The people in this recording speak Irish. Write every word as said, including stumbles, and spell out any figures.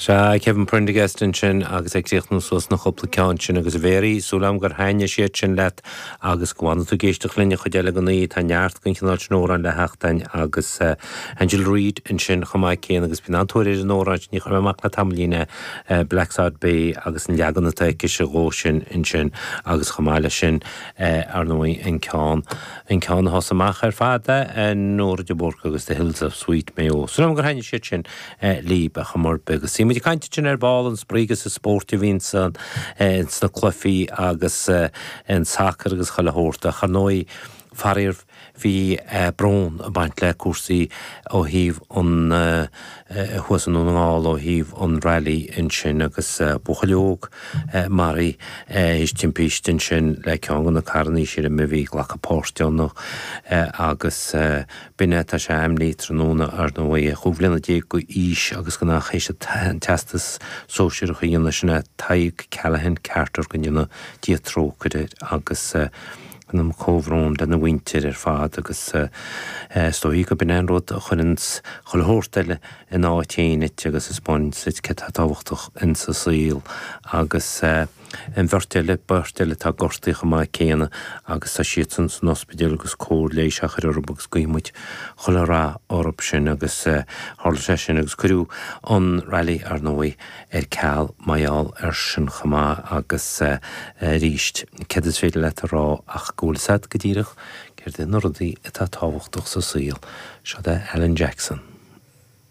Sea, Kevin Prendergast ansin agus ag críochnú suas na cúpla ceann sin agus a Mhéaraí, súil agam gur thaitnigh siad sin leat agus go bhfanfaidh tú ag éisteacht linn an chuid eile den oíche, tá neart den chineál sin amhrán le theacht againn agus Angela Reid ansin chomh maith céanna agus bíonn an-tóir ar an amhrán sin, ní chuir mé amach le tamaillín é, Blacksod Bay agus an leagan atá aicise dhó sin ansin agus chomh maith leis sin ar ndóigh an ceann an ceann a thosaigh amach ar fad, Nóra de Búrca agus The Hills of Sweet Mayo. Súil agam gur thaitnigh siad sin libh ar chuma ar bith. Agus bhí muid ag caint ansin ar ball an spraoi agus an spórt a bhíonn sna cluichí agus an sacar agus chuile shórt ach ar ndóigh faraor bhí brón ag baint le cúrsaí ó thaobh an thuas i nDún na nGall ó thaobh an rally ansin agus buachaill óg maraithe théis timpiste ansin le ceann de na carrannaí sílim a bhí ag glacadh páirt ann agus B'in é, tá sé ainmnithe tráthnóna, ar ndóigh, chúig bhliana déag d'aois agus gan ach théis an teastas sóisearach a dhéanamh, sin é Tadhg Callaghan Carter, go ndéana Dia trócaire air agus déanaim comhbhrón lena mhuintir ar fad agus is dóigh go b'in é an rud a chuireanns chuile shórt eile ina áit féin duit agus a 'spáineanns duit céard atá tábhachtach insa saol agus. An bheirt eile, beirt eile atá gortaithe chomh maith céanna agus tá siadsan san ospidéal agus cóir leighis á chur orthu agus guíonn muid chuile rath orthu sin agus tharla sé sin agus cuireadh an rally ar ndóigh ar ceal mar gheall air sin chomh maith agus arís céard is féidir leat a rá ach go bhfuil fhios agat go díreach céard iad na rudaí atá tábhachtach sa saol. Seo é Alan Jackson.